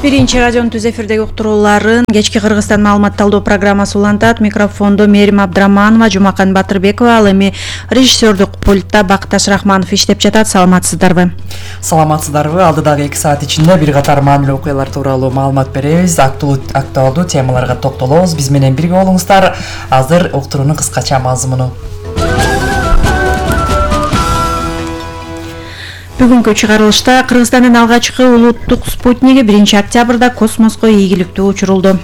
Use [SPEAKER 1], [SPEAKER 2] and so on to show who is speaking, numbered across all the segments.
[SPEAKER 1] Биринчи радионун түз эфирдеги уктурууларын кечки Кыргызстан маалымат талдоо программасы улантат. Микрофондо Мерим Абдраманова, Жумакан Батырбекова, ал эми режиссердук пультта Бакташ Рахманов иштеп жатат. Саламатсыздарбы?
[SPEAKER 2] Саламатсыздарбы. Алдыдагы 2 саат ичинде бир катар маанилүү окуялар тууралуу маалымат беребиз. Актуалдуу темаларга токтолобуз. Биз менен бирге болуңуздар. Азыр уктуруунун кыскача мазмуну.
[SPEAKER 1] Бүгүнкү чыгарылышта Кыргызстандын алгачкы улуттук спутниги 1-октябрда космоско ийгиликтүү учурулду.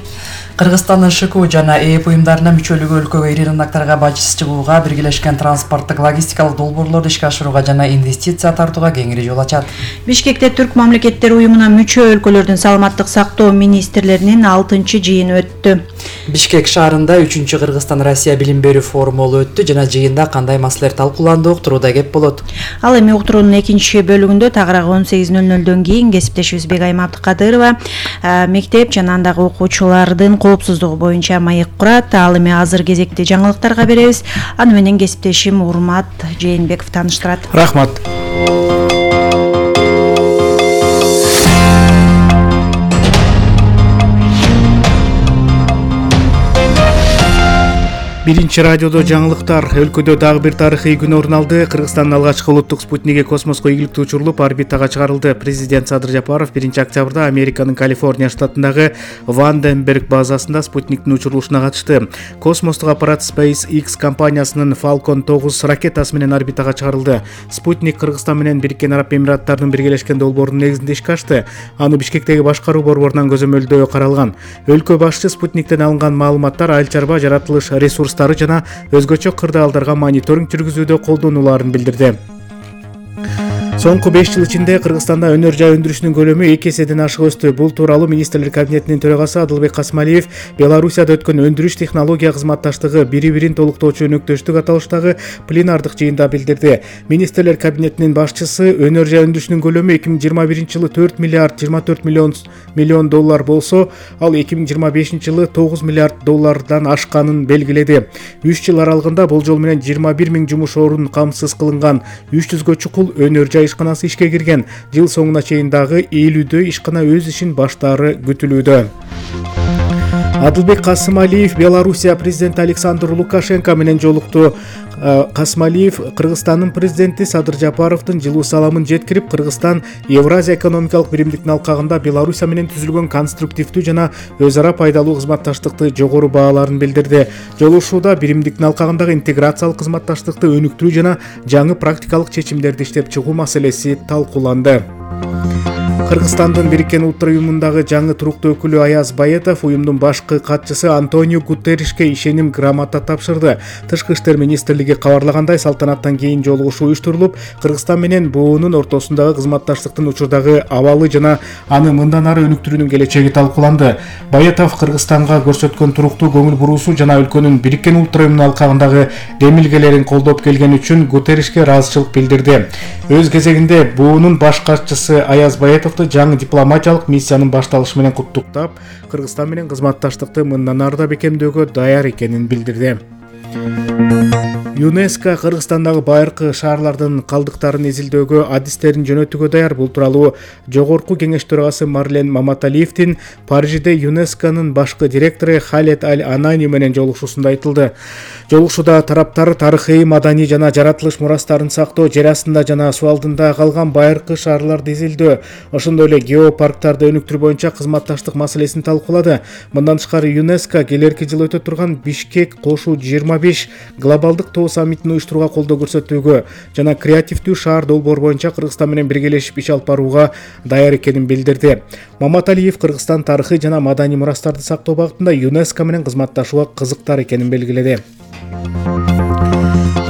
[SPEAKER 2] Кыргызстандын ШКУ жана ЭЭП уюмдарына мүчөлүгү өлкөгө ири рыноктарга бажсыз чыгууга, биргелешкен транспорттук логистикалык долбоорлорду ишке ашырууга жана инвестиция тартууга кеңири жол ачат.
[SPEAKER 1] Бишкекте Түрк мамлекеттери уюмуна мүчө өлкөлөрдүн саламаттык сактоо министрлеринин 6-жыйыны өттү.
[SPEAKER 2] Бишкек шаарында 3-чү Кыргызстан-Россия билим берүү форуму өттү жана жыйында кандай маселелер талкууланды, уктурууда кеп болот.
[SPEAKER 1] Ал эми уктуруунун экинчи бөлүгүндө тагыраак 18:00 кийин кесиптешибиз Бегайым Абдыкадырова мектеп жана андагы окуучулардын коопсуздугу боюнча маек курат. Ал эми азыр кезекти жаңылыктарга беребиз. Аны менен кесиптешим Урмат Жээнбеков тааныштырат.
[SPEAKER 3] Рахмат. Биринчи радиодо жаңылыктар. Өлкөдө дагы бир тарыхый күн орун алды. Кыргызстандын алгачкы улуттук спутниги космоско ийгиликтүү учурулуп, орбитага чыгарылды. Президент Садыр Жапаров 1-октябрда Американын Калифорния штатындагы Ванденберг базасында спутниктин учурулушуна катышты. Космостук аппарат SpaceX компаниясынын Falcon 9 ракетасы менен орбитага чыгарылды. Спутник Кыргызстан менен Бириккен Араб Эмираттарынын биргелешкен долбоорунун негизинде ишке ашты. Аны Бишкектеги башкаруу борборунан көзөмөлдөө каралган. Өлкө башчы спутниктен алынган маалыматтар айыл чарба, жаратылыш ресурстары жана өзгөчө кырдаалдарга мониторинг жүргүзүүдө колдонуларын билдирди. Соңку 5 жыл ичинде Кыргызстанда өнөр жай өндүрүшүнүн көлөмү 2 эседен ашык өстү. Бул тууралуу Министрлер кабинетинин төрагасы Адылбек Касмалиев Белоруссияда өткөн өндүрүш технология кызматташтыгы бири-бирин толуктоочу өнөктөштүк аталыштагы пленардык жыйында билдирди. Министрлер кабинетинин башчысы өнөр жай өндүрүшүнүн көлөмү 2021-жылы 4 миллиард 24 миллион доллар болсо, ал 2025-жылы 9 миллиард доллардан ашканын белгиледи. 3 жыл аралыгында болжол менен 21 000 жумуш орун камсыз кылынган. 300гө чукул өнөр жай ишканасы ишке кирген. Жыл соңуна чейин дагы 50 ишкана өз ишин баштаары күтүлүүдө. Адылбек Касмалиев Белоруссия президенти Александр Лукашенко менен жолукту. Касмалиев Кыргызстандын президенти Садыр Жапаровдун жылуу саламын жеткирип, Кыргызстан Евразия экономикалык биримдиктин алкагында Белоруссия менен түзүлгөн конструктивдүү жана өз ара пайдалуу кызматташтыкты жогору бааларын билдирди. Жолугушууда биримдиктин алкагындагы интеграциялык кызматташтыкты өнүктүрүү жана жаңы практикалык чечимдерди иштеп чыгуу маселеси талкууланды. Кыргызстандын Бириккен Улуттар уюмундагы жаңы туруктуу өкүлү Аяз Байетов уюмдун башкы катчысы Антонио Гутерришке ишеним грамота тапшырды. Тышкы иштер министрлиги кабарлагандай, салтанаттан кийин жолугушуу уюштурулуп, Кыргызстан менен буунун ортосундагы кызматташтыктын учурдагы абалы жана аны мындан ары өнүктүрүүнүн келечеги талкууланды. Байетов Кыргызстанга көрсөткөн туруктуу көңүл буруусу жана өлкөнүн Бириккен Улуттар уюмунун алкагындагы демилгелерин колдоп келген үчүн Гутерришке ыраазычылык билдирди. Өз кезегинде буунун баш катчысы Аяз Байетов жаңы дипломатиялык миссиянын башталышы менен куттуктап, Кыргызстан менен кызматташтыкты мындан ары да бекемдөөгө даяр экенин билдирди. ЮНЕСКО Кыргызстандагы байыркы шаарлардын калдыктарын изилдөөгө адистерин жөнөтүүгө даяр. Бул тууралуу Жогорку кеңеш төрагасы Марлен Маматалиевдин Парижде ЮНЕСКОнун башкы директору Халет Аль-Анани менен жолугушуусунда айтылды. Жолугушууда тараптар тарыхый, маданий жана жаратылыш мурастарын сактоо, жер астында жана суу алдында калган байыркы шаарларды изилдөө, ошондой эле геопарктарды өнүктүрүү боюнча кызматташтык маселесин талкуулады. Мындан тышкары ЮНЕСКО келерки жылы өтө турган Бишкек кошуу 25 глобалдык саммитин уюштурууга колдоо көрсөтүүгө жана креативдүү шаар долбоор боюнча Кыргызстан менен биргелешип иш алып барууга даяр экенин билдирди. Маматалиев Кыргызстан тарыхый жана маданий мурастарды сактоо багытында ЮНЕСКО менен кызматташууга кызыктар экенин белгиледи.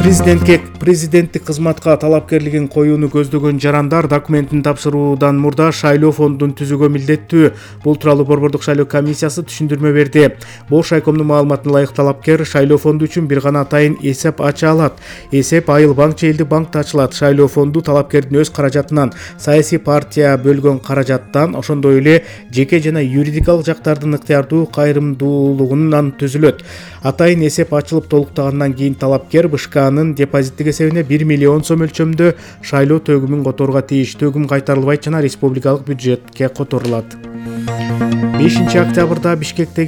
[SPEAKER 3] Президенттик кызматка талапкерлигин коюуну көздөгөн жарандар документин тапшыруудан мурда шайлоо фондун түзүүгө милдеттүү. Бул тууралуу Борбордук шайлоо комиссиясы түшүндүрмө берди. Бош айкомдун маалыматына ылайык талапкер шайлоо фонду үчүн бир гана атайын эсеп ача алат. Эсеп айыл банк же элдик банкта ачылат. Шайлоо фонду талапкердин өз каражатынан, саясий партия бөлгөн каражаттан, ошондой эле жеке жана юридикалык жактардын ыктыярдуу кайрымдуулугунан түзүлөт. Атайын эсеп ачылып толуктагандан кийин талапкер БШКнын депозиттик эсебине 1 миллион сом өлчөмдө шайлоо төгүмүн которууга тийиш. Төгүм кайтарылбайт жана республикалык бюджетке которулат. 5 октябрда Бишкектеги